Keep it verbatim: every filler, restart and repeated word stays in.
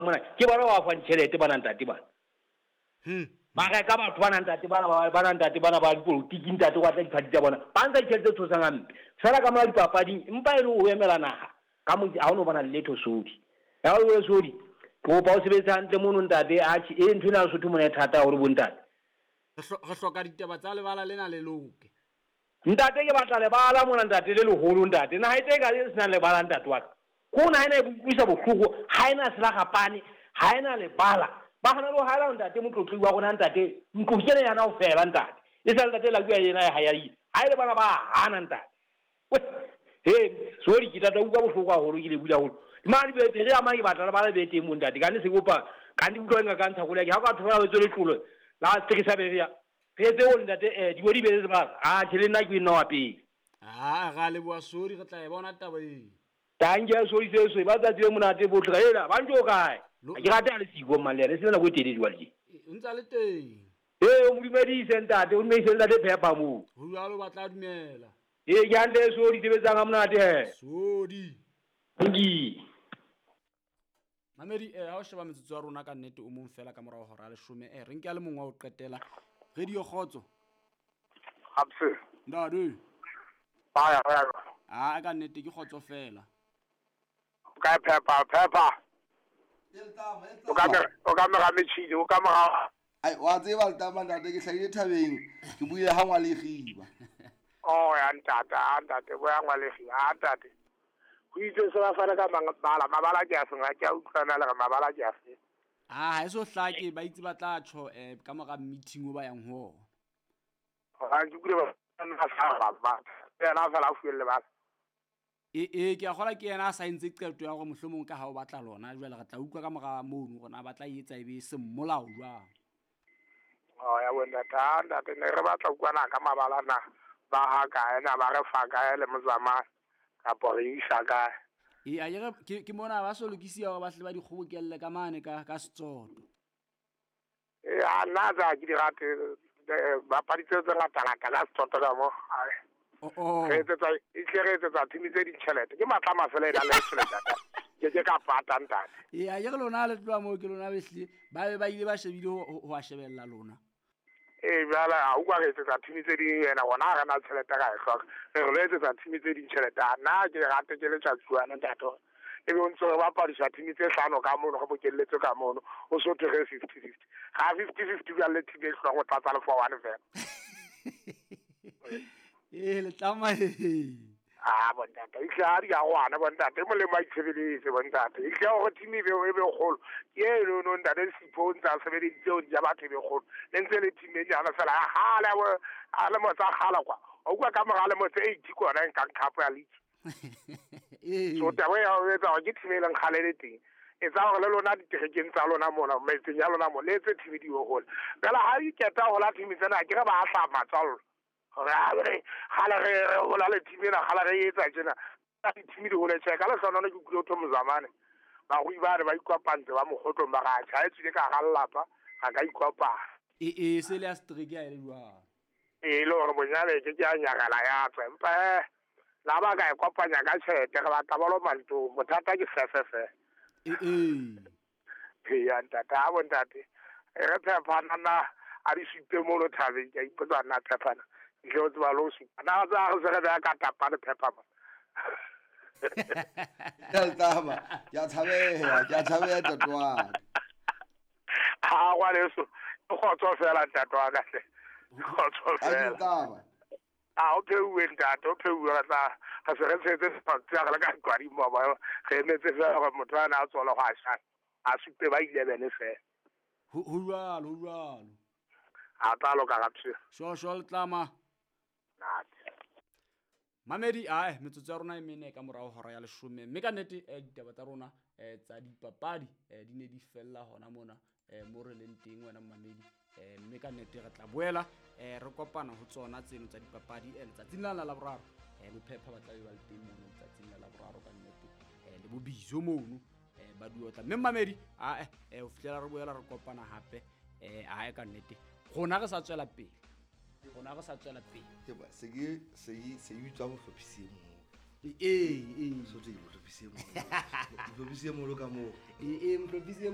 Mona ke bona ba fang tjhelete bana ntate bana. Hmm. Ba reka batho bana ntate bana ba bana ntate bana ba dipolotiki ntate wa tla diphathi tsa bona. Ba nka ditjhelete tse tshosang hampe. Fela ka mona dipapading empa e le o emela naha. Ka mo ha o no bona letho Sodi. Ya o Sodi. Ke kopa o sebetse hantle mono ntate atjhe e ntho ena Lesotho mona e thata haholo bo ntate. Re hloka ditaba tsa lebala lena le loke. Ntate ke batla lebala mona ntate le leholo ntate. Naha e teng ka e senang lebala ntate wa ka. Ko naha ena e utlwisa bohloko, ha ena selagapane, ha ena lebala. Ba hana le ho haela ntate motlotli wa rona ntate. Ntlo ke ena yana ho fela ntate. E sa ntate la bua yena ya ha ya ile. Ha ile bana ba hana ntate. He, sorry ke tata utlwa bohloko haholo ke le bula haholo. Mane be re ama ke batla lebala be teng mo ntate. Ka ne se kopa ka ndi utlwa nga ka ntsha koloi ha ka thola tswe letlolo la sekisa be ya. Re etse o ntate eh di di be le ba. Ah tjhe le nna ke nna wa pele. Ah ra leboha Sodi re tla e bona taba e. Tanke ya Sodi se se ba tsatsi le monate botle ela ba ntse o kae. Ke rata le siko mmalele se nako e telele jwale ke. O ntsa le teng. Eh o modumedise ntate o dumedise ntate Phepa moo. Ho jwalo ba tla dumela. Eh ke hantle Sodi sebetsang ha monate he. Sodi. Ngi. Mamedi eh ha o sheba metsotso ya rona ka nnete o mong fela ka morao hora leshome eh re nke a le mongwe wa ho qetela. Radio Kgotso. Abse. Ndadu. Ba ya ya. Ah ka nnete ke kgotso fela. O ka Phepa Phepa. O ka o ka mera metjhini o ka mora. Ai wa tseba letama ntate ke hlahile thabeng ke buile ha ngwalegiba. Oh ya ntate a ntate bo ya ngwalegiba a ntate. Ho itse se ba fana ka mabala mabala ke a seng ke a utlwana le re mabala ke a fe. Ah ha eso hlake ba itse ba tla tjho eh ka mora meeting o ba yang ho. Ha ke kule ba nna sa ba. Yena fela a fuelle ba. E e ke a kgola ke yena a sa entse qeto ya hore mohlomong ka ha o batla lona jwale re tla utlwa ka mora mono hore na ba tla etsa ebe semolao jwang. Oh ya bona ntate ntate ne re batla utlwana ka mabala na ba ha kae na ba re fa kae le motsamai kapa re isa kae. E a yere ke ke mona ba so lokisia hore ba hle ba dikgobokelle ka mane ka ka setsoto. E a nna tsa ke di rate bapadi tse tse ngata ngata ka setsoto ka mo. Oh oh. Re etsetsa e tle re etsetsa team tse ditjhelete ke matla mafela e na le tjhelete ke ke ka pata ntate. E a yere lona le tloha moo ke lona behle ba be ba ile ba shebile ho ho a shebella lona. E jwale ha o kwa re etsetsa team tse ding yena rona ha re na tjhelete ka e hloka. Re re etsetsa team tse ding tjhelete nna ke rate ke letsatsi wa ntate. E be o ntse re bapadisa team tse hlano ka mono re bokelletse ka mono o so thwe re fifty fifty. Ga fifty fifty jwale le team e hloka go tlatsa le four one fela. Eh le tlama he. Ah bontate e tla di a gwana bontate molemo a itshebeletse bontate e tla hore team e be e be kgolo ke e no no ntate Sipho o ntsa sebeditse o ja batho e be kgolo le ntse le team e nyana fela ha le a le motsa kgala kwa o kwa ka mora le motse eighty kona nka cup ya league. So taba ya o etsa ke team e leng kgale le teng e tsa hore le lona diterekeng tsa lona mona metseng ya lona mo le etse team di hole fela ha iketa hola team tsena ke re ba hla matswallo re gala re hola le team ena gala re etsa tjena team di hole tjhe ka le hlonone ke kulo tho mozamane ba go ibare ba ikopantse ba mogotlong ba ga tjha e tsile ka ga lapa ga ka ikopana e e se le a strike ya le jwang e le hore bonyane ke ke a nyakala ya tswa empa eh la ba ka ikopanya ka tjhelete re batla ba lo manto bothata ke fefefe e e e ya ntate a bontate re phepana na a di supe mono thabeng ke a ipotsa nna phepana ke o tswa lo supa na tsa re se re ka tapa le phepha mo Tama ke a tshabeha ke a tshabeha ntate wa ka. Ha wa leso kgotso fela ntate wa ka hle kgotso fela tama a o pheuwe ntate o pheuwe re tla ga se re tshetse tsa re ka kwadi mo ba re emetse fela gore motho a na a tswala go a shana a supe ba eleven fela ho jwalo ho jwalo a tla loka ga pse sho sho le tlama Mamedi ae metsotso ya rona e mene ka morao hora ya leshome mme ka nnete eh ditaba tsa rona eh tsa dipapadi eh di ne di fella hona mona eh mo re leng teng wena mamedi eh mme ka nnete re tla boela eh re kopana ho tsona tseno tsa dipapadi eh letsatsing la la boraro eh bophepha ba tla be ba le teng mono letsatsing la la boraro ka nnete eh le bobizo mono eh ba duotla mme mamedi ae eh ho fihlela re boela re kopana hape eh ae ka nnete rona re sa tswela pele rona re sa tswela pele ke ba se ke se se utswa bohlophisi mo e e so tse bohlophisi mo bohlophisi mo lo ka mo e e bohlophisi.